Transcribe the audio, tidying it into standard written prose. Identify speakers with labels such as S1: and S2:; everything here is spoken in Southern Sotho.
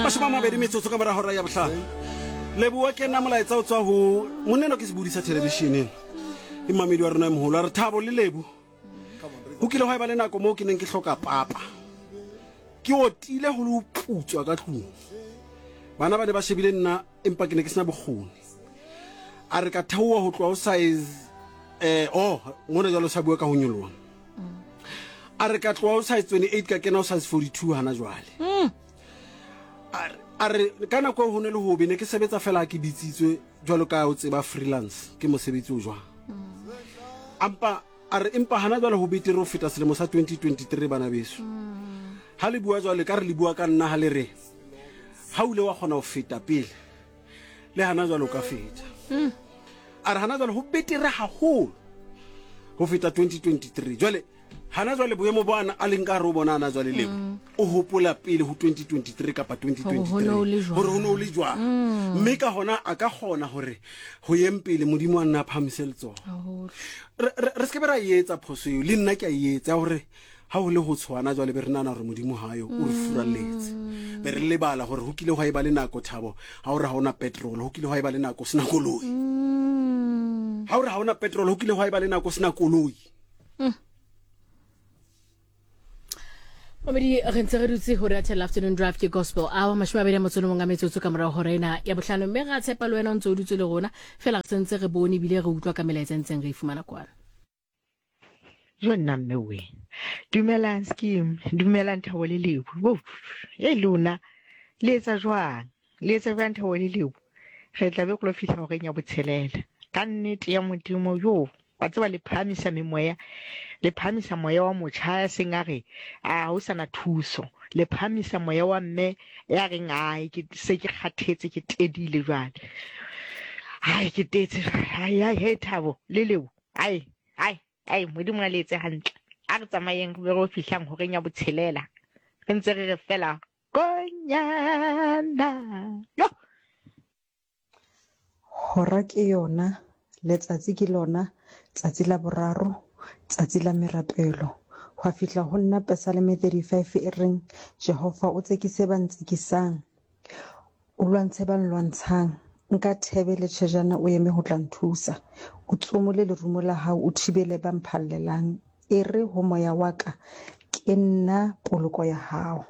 S1: 20 metsotso ka mora hora ya bohlano. Leboa ke nna molaetsa o tswa ho monneno ke sebodi sa thelebišeneng ke mmamedi wa rona e mogolo a re thabo le lebu go kile gwa e ba le nako moo ke neng ke hloka papa ke otile go le go putswa ka tlung bana ba ne ba shebile nna empa ke ne ke sena bokgoni a re ka theoa go tloa o size eh oh ngone jalo sa bua ka go nyoloa a re ka tloa o size 28 ka kena o size 42 hana jwale a re ka nako e go ne le gobe ne ke sebetsa fela ke bitsitswe jwalo ka o tseba freelance ke mosebetsi o jwang ampa a re empa hana jwale ho betere ho feta selemo sa 2023 bana beso ha le bua jwale ka re le bua ka nna ha le re ha o ile wa kgona ho feta pele le hana jwale o ka feta a re hana jwale ho betere haholo ho feta 2023 jwale hana jwale boemo bo a leng ka gare o bona ana jwale lebo mm. o hopola pele ho 2023 kapa 2023 gore ho ne o le jwang mm. mme ka gona a ka kgona gore go yeng pele modimo a nna a phamise letsogo re se ke be ra e etsa phoso eo le nna ke a e etsa gore ga go le go tshwana jwale be re nana gore modimo gayo o re furaletse be re lebala gore go kile gwa e ba le nako thabo ga o re ga ona petrol go kile gwa e ba le nako sena koloi ga o re ga ona petrol go kile gwa e ba le nako sena koloi
S2: Mamedi re ntse re dutse ho re Thela Afternoon Drive ke Gospel Hour 21 a metsotso ka morago hora ena ya bohlano mme ra tshepa le wena o ntse o dutse le rona fela re sentse re bone ebile re utlwa ka melaetsa e ntseng re e fumana kwana.
S3: Jo nna mme we. Dumelang scheme, dumelang Thabo le Lebo. Wo, e lona le etsa jwang? Le etsa jwang Thabo le Lebo? Re tla be go lo fihla horeng ya botshelela. Ka nnete ya Modimo yo wa tseba le phahamisa memoya, le phahamisa moya wa motjha ya seng a re a ho sana thuso. Le phahamisa moya wa mme ya reng ai ke se ke kgathetse ke tedile jwale. Ai ke tetse jwale. Ai ai he Thabo le Lebo. Ai, ai, ai, Modimo a le etse hantle. A re tsamayeng re be re fihlang horeng ya botshelela. Re ntse re re fela konyana. Yo!
S4: Hora ke yona, letsatsi ke lona, tsatsi la boraro, tsatsi la merapelo. Hwa fihla ho nna Pesaleme 35 e reng, Jehova o tsekise ba ntsekisang, O lwantshe ba nlwantshang. Nka thebe le tjhejana o eme ho tla nthusa. O tsomole lerumo la hao o thibele ba mphallelang. Ere ho moya wa ka, Ke nna poloko ya hao.